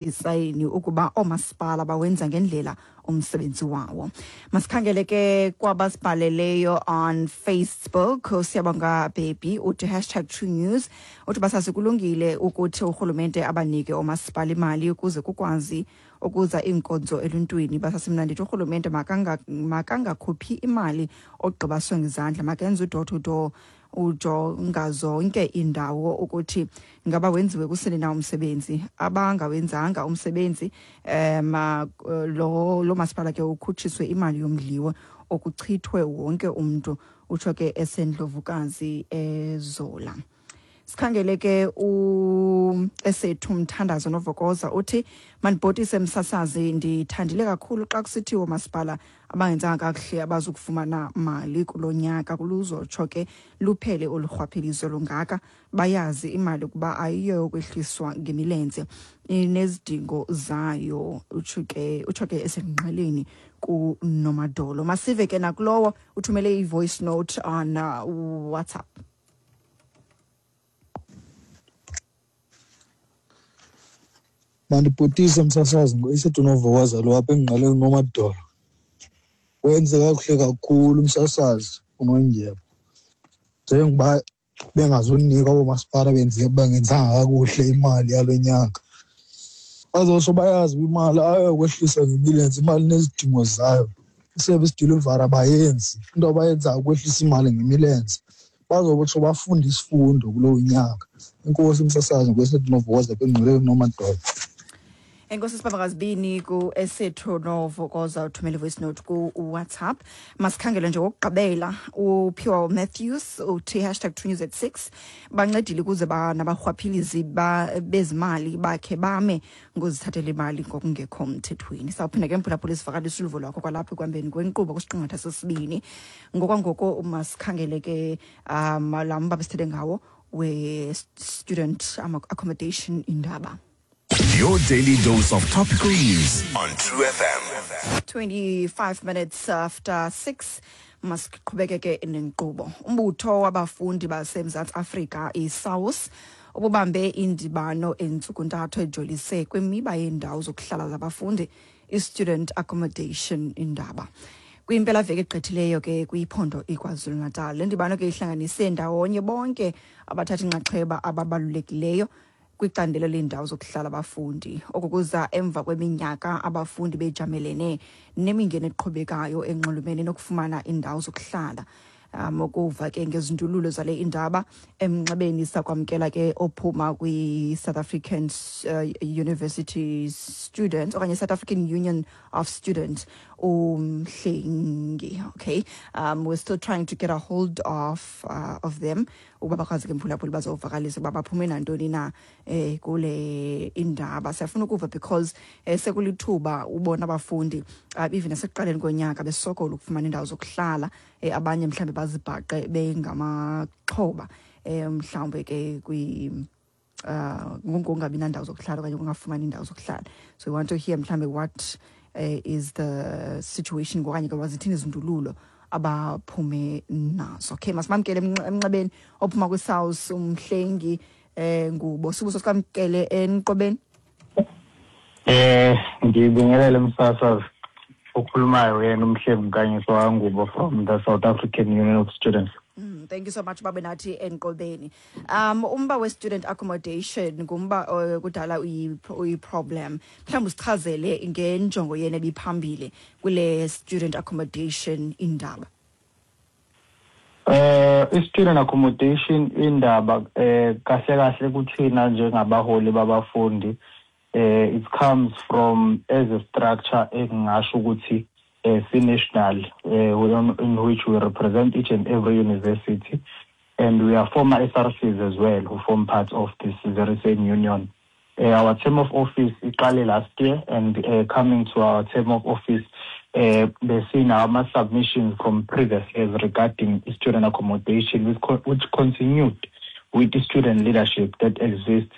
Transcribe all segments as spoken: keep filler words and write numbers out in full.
Isayini ukuba oomasipala bawenza ngendlela umsebenzi wawo. Masikhangele ke kwabasibhaleleyo on Facebook. Siyabonga Baby uthi hashtag True News, uthi basazi kulungile ukuthi urhulumente abanike oomasipala imali ukuze kukwazi ukuza iinkonzo eluntwini. Basasimna ndithi urhulumente makangakhuphi imali ogqiba sonke izandla, makenze u-door to door, ujonga zonke indawo ukuthi ngaba wenziwe kusini na umsebenzi. Abangawenzanga umsebenzi um lo lo masipala ke ukhutshiswe imali yomdliwo okuchithwe wonke umntu, utsho ke esendlovukazi ezola. Sikhangele ke u esethu Mthandazo Novokoza uthi mandibhotise msasazi, ndithandile kakhulu xa kusithiwa masipala abangenzanga kakuhle abazukufumana mali kulo nyaka, kuluzotsho ke luphele olu rhwaphilizo lungaka. Bayazi imali ukuba ayiyo yokwehliswa ngemilenze, inezidingo zayo, utsho ke utsho ke esengqeleni kuNomadolo. Masive ke nakulowo uthumele i-voice note on uh, WhatsApp. Mandibhotise msasazi, ngoEsethu Novokoza lo apha engqeleni Nomadolo. Wenze kakuhle kakhulu umsasazi uNondyebo, njengoba bengazunika oomasipala benze bangenzanga kakuhle imali yalo nyaka. Bazotsho bayazi uba imali ayokwehlisa ngemilenze, imali nezidingo zayo. I-service delivery abayenzi, into abayenzayo ukwehlisa imali ngemilenze. Bazotsho bafunde isifundo kulo nyaka. Enkosi msasazi, ngoEsethu Novokoza apha engqeleni Nomadolo. Enkosi sibabakazibini ku-Esethu Novokoza uthumele voice note ku-WhatsApp. Masikhangele nje wokugqibela uPhiwa Matthews uthi hashtag True News at six, bancedile ukuze nabarhwaphilizi bezimali bakhe bame ngozithathela imali ngokungekho mthethweni. Sawuphinda ke mphulaphula isivakalisi uluvo lwakho kwalapha ekuhambeni kwenkqubo kwisiqingatha sesibini. Ngokwangoko masikhangele ke um laa mba besithethe ngawo we-student accommodation indaba. Your daily dose of topical news on True F M. twenty-five minutes after six, masiqhubekeke nenkqubo. Umbutho wabafundi baseMzantsi Afrika i-SAUS ububambe indibano entsukuntathu ejolise kwimiba yeendawo zokuhlala zabafundi, i-student accommodation indaba. Kwimpelaveki egqithileyo ke kwiphondo iKwaZulu-Natal. Le ndibano ke ihlanganise ndawonye bonke abathatha inxaxheba ababalulekileyo kwicandelo leendawo zokuhlala abafundi. Oku kuza emva kweminyaka abafundi bejamelene nemingeni eqhubekayo enxulumene nokufumana iindawo zokuhlala. Um ukuva ke ngezindululo zale indaba emnxebeni sakwamkela ke ophuma kwi-South African uh, University Students okanye South African Union of Students uMhlengi. Okay, um we're still trying to get a hold of uh, of them ukuba bakwazi ke mphulaphula bazovakalisa ukuba baphume nantoni na eh kule indaba. Siyafuna ukuva because eh, sekulithuba ubona abafundi uh, even nasekuqaleni konyaka besokola ukufumana indawo zokuhlala, eh, abanye mhlambe bazibhaqe bengamaxhoba eh mhlawumbe ke kwi uh ngokungabi nandawo zokuhlala okanye ukungafumani indawo zokuhlala. So we want to hear mhlambe what uh, is the situation okanye ke wazithini izindululo abaphume nazo. Okay, masimamkele emnxebeni ophuma kwi-South uMhlengi eh Ngubo. Sibuso sikamkele enqobeni. Eh ngibingelele msasazi okhulumayo yena uMhlengi Nkanyiso waNgubo from the South African Union of Students. Mm, thank you so much babe nathi enqobeni. Um umba we student accommodation ngumba uh, kudala uyi problem. Mhlawumbe usichazele ngenjongo yena ebiphambili kule student accommodation indaba. Eh i-student accommodation indaba eh kahle kahle kuthina njengabaholi babafundi eh it comes from as a structure engingasho ukuthi Uh, national, uh, in which we represent each and every university, and we are former S R Cs as well who form part of this very same union. Uh, our term of office iqale last year, and uh, coming to our term of office, uh, they've seen our submissions from previous years regarding student accommodation, which, co- which continued with the student leadership that exists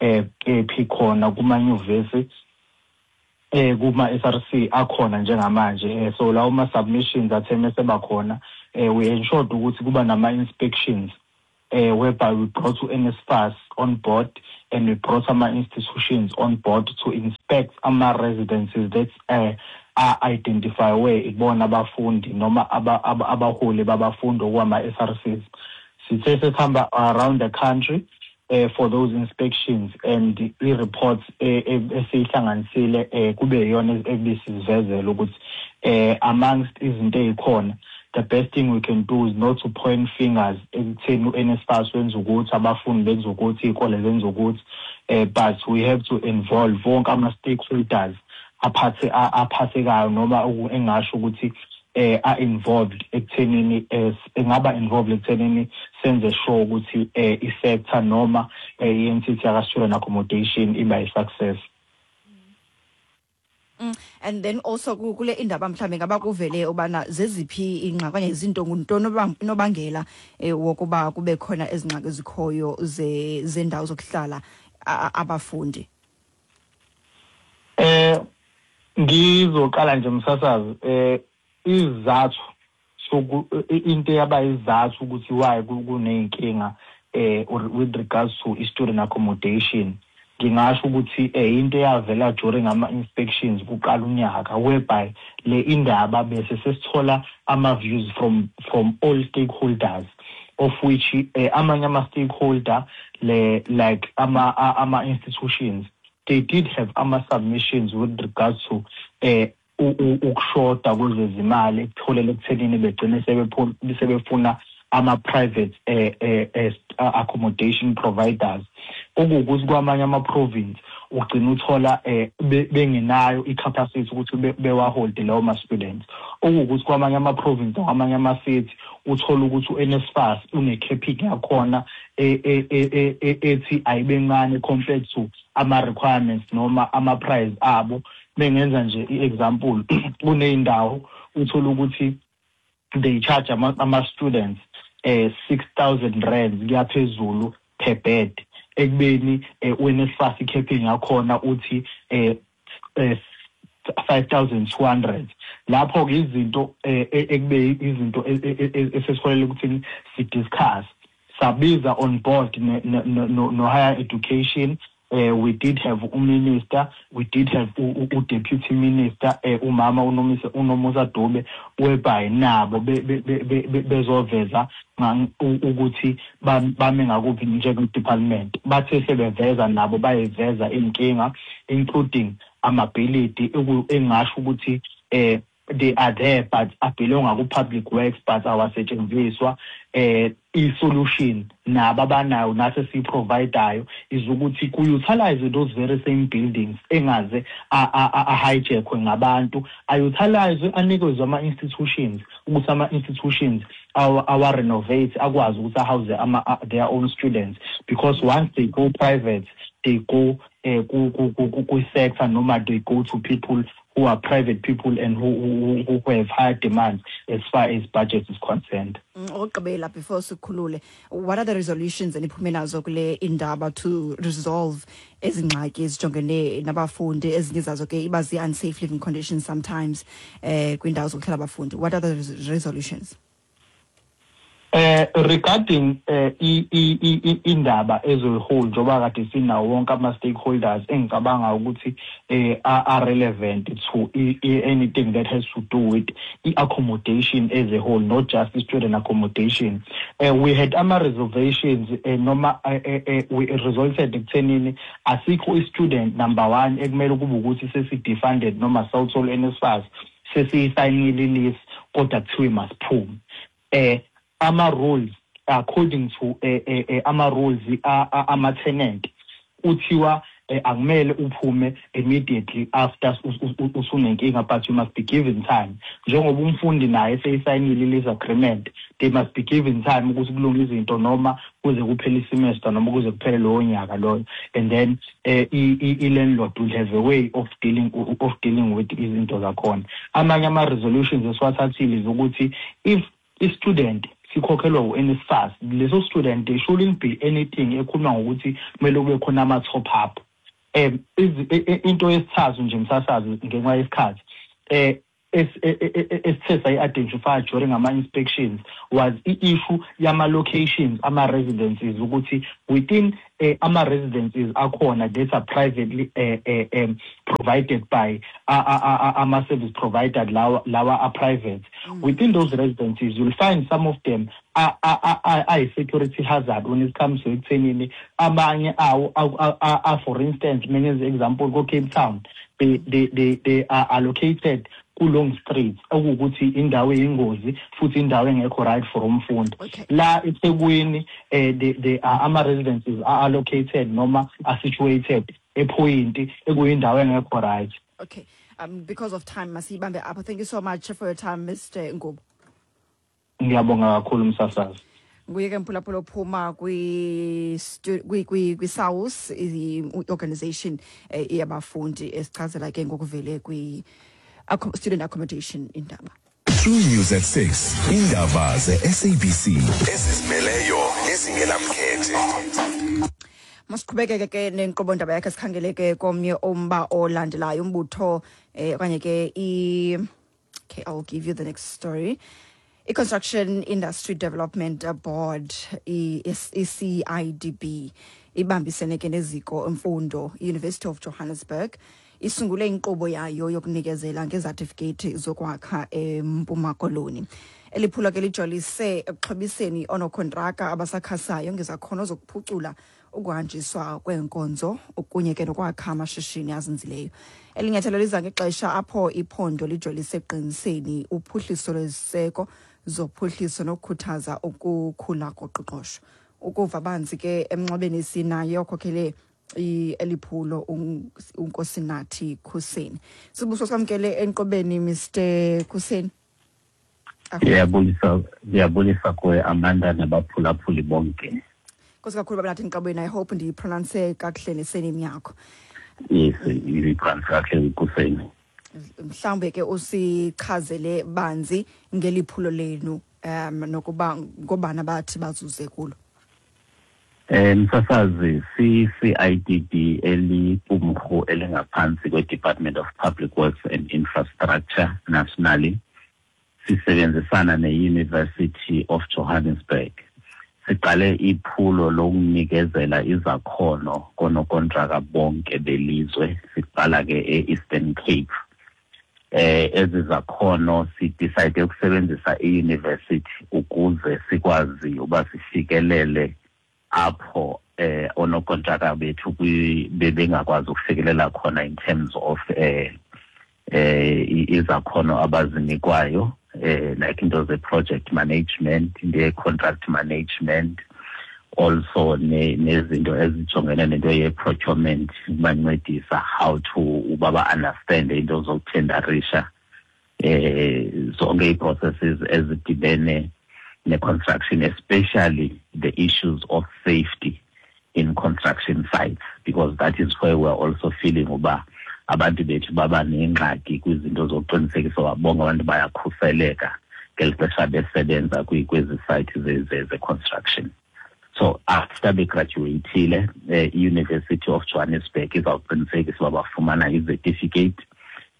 uh, kuma university. Eh kuma S R C akhona njengamanje. So lawo ma submissions atheme sebakhona, eh we ensured ukuthi kuba nama inspections uh, whereby we brought U N S F A S on board and we brought ama institutions on board to inspect ama residences that uh, are identify where ibona abafundi noma abaholi babafundi, okwama S R Cs. Sithe sesihamba around the country uh, for those inspections and i-reports esiyihlanganisile eh kube iyona ebisivezela ukuthi eh amongst izinto ezikhona, the best thing we can do is not to point fingers ekutheni u N S F A S wenza ukuthi, abafundi benza ukuthi, izikole zenza ukuthi, eh but we have to involve wonke ama stakeholders aphathe aphathekayo noma engasho ukuthi eh are involved ekuthenini, engaba involved ekuthenini senze sure ukuthi eh i-sector noma i-entity yaka student accommodation iba i-success. Mm, and then also kule indaba mhlambe ngaba kuvele ubana zeziphi ingxaki okanye izinto, nguntoni unobangela eh, wokuba kube khona ezingxaki ezikhoyo ze zendawo zokuhlala abafundi? Eh ngizoqala nje, msasazi, eh izathu soku into yaba izathu ukuthi why kuneyinkinga eh with regards to student accommodation, ngingasho ukuthi eh into eyavela during ama inspections kuqala unyaka, whereby le indaba bese sesithola ama views from from all stakeholders, of which eh, amanye ama stakeholder le like ama ama institutions, they did have ama submissions with regards to eh ukushoda kwezezimali ekutholele ekuthenini begcine sebefuna ama-private eh, eh, accommodation providers, okuwukuthi kwamanye ama-province ugcina uthola eh bengenayo i-capacity ukuthi bewaholde lawo ma-students, okuwukuthi kwamanye ama-province, kwamanye ama-city uthola ukuthi u N S F A S une-capping yakhona ethi ayibe ncane compared to ama-requirements noma ama-price abo. Bengenza nje i-example, kuney'ndawo uthola ukuthi they charge ama-students eh six thousand rands kuyaphezulu per bed, ekubeni u N S F A S i-capping yakhona uthi eh five thousand two hundred. Lapho ke izinto ekube izinto esesiholele ukuthi si-discuss, sabiza on board no, no higher education. uh, we did have uminister, we did have u-deputy minister, uh, umama uNomusa uNomusa Dube, whereby nabo bezoveza ukuthi bame ngakuphi njenge-department. Bathe sebeveza nabo, bayiveza inkinga, including amabhilidi engasho ukuthi eh they are there but abelonga ku-public works but awasetshenziswa. eh i-solution nabo abanayo, nathi esiyi-providayo, is ukuthi ku-utilize those very same buildings, engaze a-hijackwe ngabantu, a-utilize, anikezwe ama-institutions ukuthi ama-institutions awa-renovate, akwazi ukuthi a-house their own students, because once they go private, they go eh ku-sector noma they go to people who are private people and who, who, who have higher demands as far as budget is concerned. Okugqibela before sikhulule, what are the resolutions eniphume nazo kule indaba to resolve ezingxaki ezijongene nabafundi, ezinye zazo ke iba zi-unsafe living conditions sometimes eh kwindawo zokuhlala abafundi? What are the resolutions? Eh regarding eh indaba ezoyihold, njengoba kade sinawo wonke ama stakeholders engicabanga ukuthi eh are relevant to anything that has to do with i-accommodation as a whole, not just student accommodation, uh, we had ama reservations eh, noma eh, we resulted ekuthenini asikho i-student number one ekumele kube ukuthi sesi-defunded noma sawuthola N S F A S sesiyisayinile i-lease kodwa kuthiwe masiphume. eh ama rules according to eh, eh, ama rules ama tenant kuthiwa akumele uphume immediately after usunenkinga, but you must be given time. Njengoba umfundi naye eseyisayinile lease agreement, they must be given time ukuthi kulunge izinto noma kuze kuphele isemester noma kuze kuphele lowo nyaka loyo, and then eh, i-landlord will have a way of dealing of dealing with izinto zakhona. Amanye ama resolutions esiwathathile ukuthi if i-student sikhokhelwa u N S F A S, leso student, there shouldn't be anything ekhuluma ngokuthi kumele kube khona ama top up. um into yesithathu nje, msasazi, ngenxa yesikhathi, eh esithe sayi-identify during ama-inspections was i-issue yama-locations, ama-residences, ukuthi within uh, ama-residences akhona that are privately uh, uh, um, provided by uh, uh, uh, ama-service provider lawa, lawa are private. Mm. Within those residences, you'll find some of them are, are, are, are a security hazard when it comes to ekuthenini abanye awo, are, for instance, many example, go Cape Town, they, they, they, they are allocated ku-long streets, okuwukuthi indawo eyingozi futhi indawo engekho right for umfundi. La eThekwini eh they are ama-residences are allocated noma are situated ePoint ekuyindawo engekho right. Okay, um because of time masibambe apho. Thank you so much for your time, Mister Ngubo. Ngiyabonga kakhulu msasazi. Nguye ke mphulaphula ophuma kwi-SAUS, i-organization yabafundi, esichazela ke ngokuvele kwi student accommodation indaba. True News at six. Indaba ze-S A B C ezizimeleyo nezingelamkhethe. Masiqhubekeke ke nenkqubo ndaba yakhe, sikhangele ke komnye umba olandelayo, umbutho eh okanye ke i okay, I'll give you the next story. I-Construction Industry Development Board, I C I D B, ibambisene ke neziko emfundo University of Johannesburg, isungule inkqubo yayo yokunikezela ngezatifiketi zokwakha eMpuma Koloni. Eliphulo ke lijolise ekuxhobiseni oonokontraka abasakhasayo ngezakhono zokuphucula ukuhanjiswa kweenkonzo kunye ke nokwakha amashishini azinzileyo. Elinyathelo liza ngexesha apho iphondo lijolise ekuqiniseni uphuhliso lweziseko zophuhliso nokukhuthaza ukukhula koqoqosho. Ukuva banzi ke emnxebeni sinaye okhokhele eliphulo uNkosinathi Khuseni. Sibuso samkele enqobeni, Mister Khuseni. Ngiyabulisa, ngiyabulisa kuwe Amanda nabaphulaphuli bonke. Nkosi kakhulu baba nathi enqobeni. I hope ndiyipronounce kakuhle nesename yakho. Yes, uyipronounce kakuhle Khuseni. Mhlawumbe ke usichazele banzi ngeliphulo lenu um nokuba ngobana bathi bazuze kulo. Eh msasazi, C C I D B eliqumrhu elingaphansi kwe-Department of Public Works and Infrastructure nationally, sisebenzisana ne-University of Johannesburg. Siqale iphulo lokunikezela izakhono konokontraka bonke belizwe, siqala ke e-Eastern Cape. Eh ezi zakhono sidecide ukusebenzisa i-university ukuze sikwazi uba sifikelele apho eh onokontraka bethu bebengakwazi ukufikelela khona in terms of eh eh izakhono abazinikwayo, eh like into ze project management, the contract management, also nezinto ezijongene nento ye procurement, bancedisa how to uba understand into zokuthendarisha, eh zonke i-processes ezidibene ne-construction, especially the issues of safety in construction sites, because that is where we're also feeling uba abantu bethu baba nengxaki kwizinto zokuqinisekisa uba bonke abantu bayakhuseleka ngeli xesha besebenza kwezi sites ze-construction. So after begraduatile, i-University of Johannesburg izawuqinisekisa uba bafumana i-certificate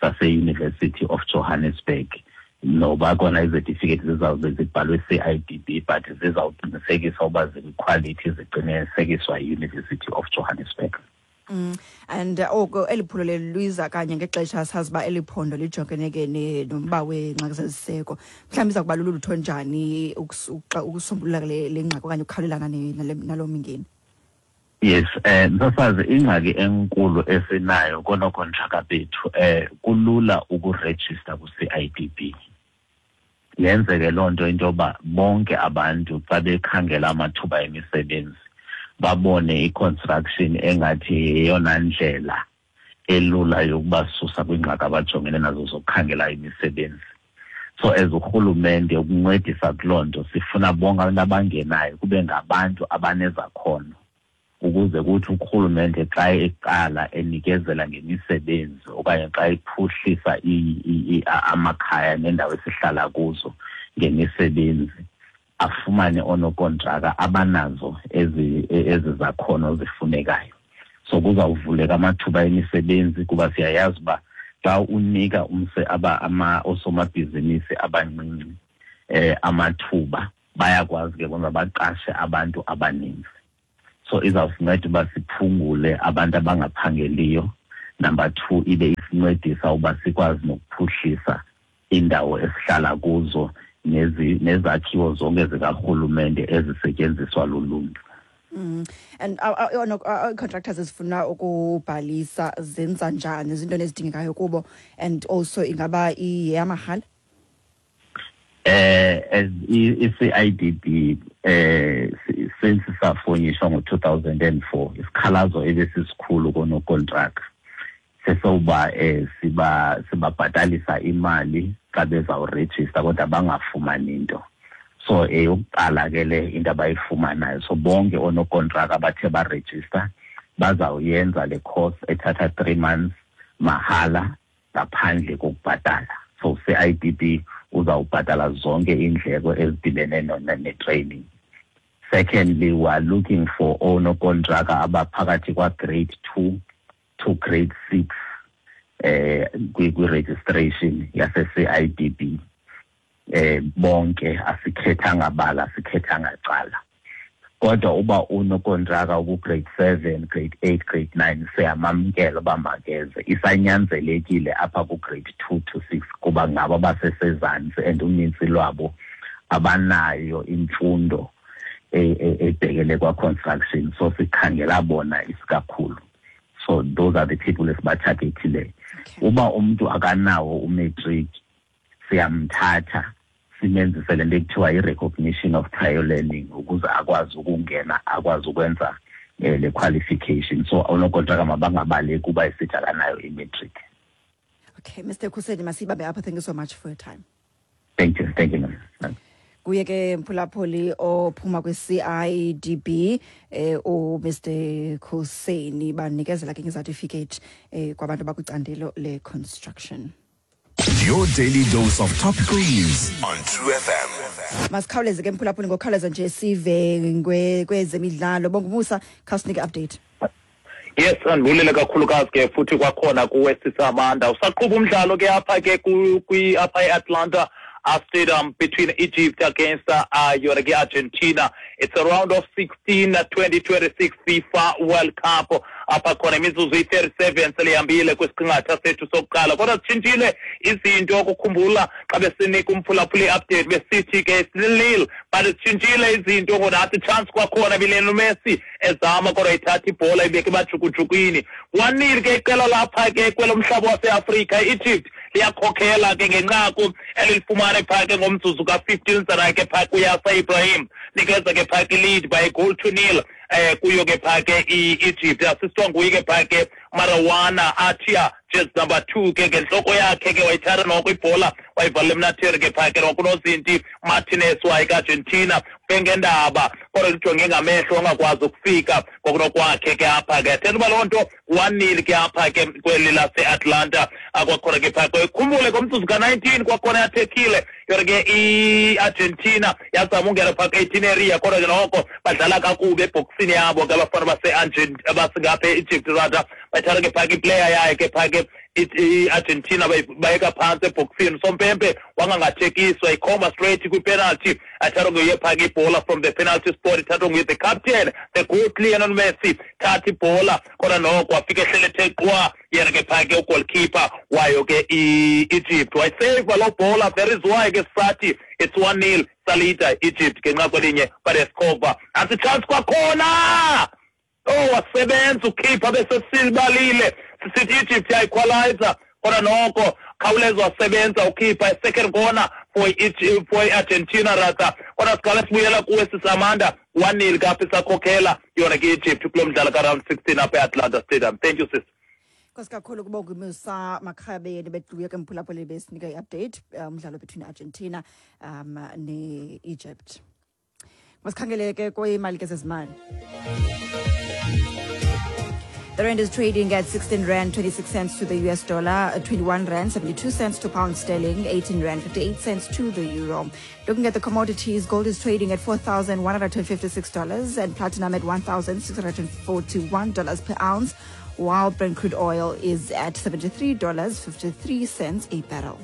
sase-University of Johannesburg. Noba kona izetifiketi zizawube zibhalwe C I D B, but zizawuqinisekisa uba zikwiquality ziqinisekiswa yi-University of Johannesburg. Mm. And oko eliphulo leliza kanye ngexesha sazi uba eliphondo lijongene ke nomba weengxaki zeziseko. Mhlawumbi iza kuba lulutho njani ukusombulula le ngxaki okanye ukukhawulelana nalo mingeni? Yes, eh msasazi, ingxaki enkulu esinayo konokontraka bethu eh kulula ukurejista ku-C I D B. Yenzeke loo nto into yoba bonke abantu xa bekhangela amathuba emisebenzi babone i-construction engathi yeyona ndlela elula yokubasusa kwiingxaki abajongene nazo zokukhangela imisebenzi. So as urhulumente ukuncedisa kuloo nto sifuna bonke abantu abangenayo kube ngabantu abanezakhono, ukuze kuthi urhulumente xa eqala enikezela ngemisebenzi okanye xa iphuhlisa amakhaya neendawo esihlala kuzo ngemisebenzi, afumane onokontraka abanazo ezi ezi zakhono zifunekayo. So kuzawuvuleka amathuba emisebenzi kuba siyayazi uba Xa unika umse aba ama osomabhizinisi abancinci eh amathuba, bayakwazi ke bona baqashe abantu abaninzi. So izawusinceda uba siphungule abantu abangaphangeliyo. Number two, ibe isincedisa uba sikwazi nokuphuhlisa indawo esihlala kuzo nezi nezakhiwo zonke zikarhulumente ezisetyenziswa luluntu. Mm. And contractors ezifuna ukubhalisa zenza njani, izinto ezidingekayo kubo, and also ingaba iyamahala? Eh as i-C I D B eh since safonyishwa ngo two thousand and four, isikhalazo ebesisikhulu konokontraka sesoba eh siba sibabhatalisa imali xa bezawurejista kodwa bangafumani into. So eyokuqala ke le into abayifumanayo, so bonke onokontraka abathe barejista bazawuyenza le course ethatha three months mahala ngaphandle kokubhatala. So C I D B uzawubhatala zonke indleko ezidibene ne-training. Secondly, we are looking for onokontraka abaphakathi kwa grade two to grade six eh kwi-registration yase-C I D B. Eh bonke asikhethanga bala, asikhethanga cala. Kodwa uba unokontraka uku grade seven, grade eight, grade nine, siyamamkela uba makeze. Isanyanzelekile apha ku grade two to six kuba ngabo abasesezantsi and unintsi lwabo abanayo imfundo ebhekele kwa construction, so sikhangela bona isikakhulu. So those are the people esibatargetileyo. Uba umuntu akanawo umatric, siyamthatha simenzise le nto ekuthiwa i-recognition of prior learning ukuze akwazi ukungena, akwazi ukwenza le qualification. So onokontraka mabangabaleki kuba esithi akanayo i-matric. Okay, Mister Khuseni, masibambe apha. Thank you so much for your time. Thank you, thank you, ma'am. Kuye ke mphulaphuli ophuma kwi-C I D B eh u Mister Khuseni banikezela ke ngecertificate eh kwabantu abakwicandelo le construction. Your daily dose of topical news on True F M. Masikhawuleze ke mphulaphuli, ngokukhawuleza nje sive kwezemidlalo. Bongumusa, khawusinike update. Yes, andibulele kakhulukazi ke futhi kwakhona kuwe Sisamanda. Usaqhuba umdlalo ke apha ke kwi apha eAtlanta Stadium between Egypt against uh, Argentina. It's a round of sixteen, twenty twenty-six FIFA World Cup. Apha khona imizuzu iyi-thirty-seven selihambile kwisiqingatha sethu sokuqala. Kodwa sitshintshile izinto, ukukhumbula xa besinika umphulaphula i-update besithi ke nil, but sitshintshile izinto ngonathi chance kwakhona bilelo Messi ezama kodwa ithatha ibhola ibeke emajukujukwini. one nil ke iqela lapha ke kwelomhlaba waseAfrika, i-Egypt liyakhokhela ke ngenqaku elilifumana phaa ke ngomzuzu ka-fifteen sana ke phaa kuYasa Ibrahim, nikeza ke phaa ke lead by a goal to nil eh kuyo ke phaa ke i-Egypt. Assistwa nguye ke phaa ke Marawana Atia, just number two ke ngentloko yakhe ke wayithatha noko ibhola wayivalela emnatheni ke phaa ke nokunozinti Martinez waye ka-Argentina bengendaba kodwa lijonge ngamehlo ongakwazi ukufika ngokunokwakhe ke apha ke. Thetha uba loo nto one nil ke apha ke kweli lase-Atlanta. Kwakhona ke phaa ke khumbule ngomzuzu ka-nineteen kwakhona yathekile yona ke i-Argentina yazama ungena phaa ke-eighteen area, kodwa ke noko badlala kakubi ebhokisini yabo ke abafana base-Argentina e-Egypt rather. Bayithatha ke phaa ke iplayer yayo ke phaa ke i-Argentina bayeka phantsi ebhokisini. Sompempe wangangathekiswa, ikhomba straight kwi-penalty. Athathwa nguye phaa ke ibhola from the penalty spot, ithathwa nguye the captain, the good Lionel Messi, thatha ibhola kodwa noko wafika ehlele ethe qwa yena ke phaa ke ugoalkeeper wayo ke i-Egypt. Wayiseyiva loo bhola, that is why ke sisathi it's one nil salita Egypt ngenxa kwelinye badescover. Nantsi chance kwakhona, oh wasebenza ukhipha bese silibalile sisithi Egypt yayiqualizer kodwa noko khawuleza wasebenza ukhipha i-second corner for Egypt, for Argentina rather. Kodwa siqala sibuyela kuwe Sisamanda, one nil kapha isakhokhela yona ke Egypt kulo mdlalo ka-round sixteen apha e-Atlanta Stadium. Thank you, sis. Nkosi kakhulu kubonga Makhabeni betluye ke mphulaphuli besinika i-update umdlalo between Argentina um ne-Egypt. Masikhangele ke kwimali ke zezimali. The rand is trading at sixteen rand twenty-six cents to the U S dollar, twenty-one rand seventy-two cents to pound sterling, eighteen rand fifty-eight cents to the euro. Looking at the commodities, gold is trading at four thousand one hundred fifty-six dollars and platinum at one thousand six hundred forty-one dollars per ounce. while Brent crude oil is at seventy-three dollars fifty-three cents a barrel.